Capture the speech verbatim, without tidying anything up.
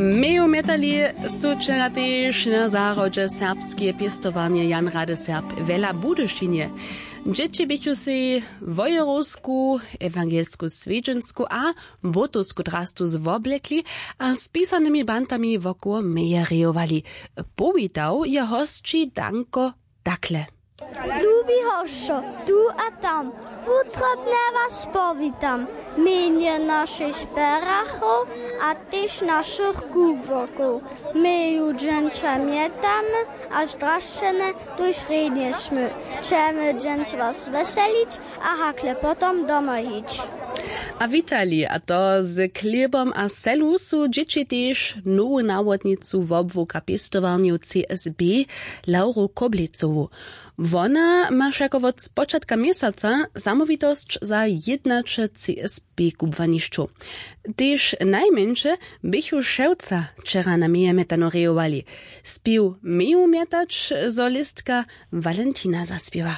Meju mjetali su wčera tež na zahrodźe serbskeje pěstowarnje Jan Rady Serb w Budyšinje. Dźěći běchu sej wojerowsku, ewangelsku swjedźensku a błótowsku drastu zwoblekli a z pisanymi bantami wokoło meje rejowali. Powitał je hosći Danko takle. Lubi hosćo, tu a tam, wutrobnje was powitam, mjenje našich berachow a tež našich kubłokow. My ju dźensa mjetamy a zdrašćene tuž rjenješmy. Chcemy dźens was weselić a hakle potom domoj hić. A witali, a to z chlěbom a selu, su dźěći tež nowu nawodnicu wobłuka pěstowarnjow C S B, Lauru Koblecowu. Wona ma wšako wot spočatka měsaca zamołwitosć za jědnaće C S B kubłanišćow. Tež najmjeńše běchu wšewca wčera na meje mjetano rejowali. Spěw měju mjetać, zo listka Walentina zaspěwa.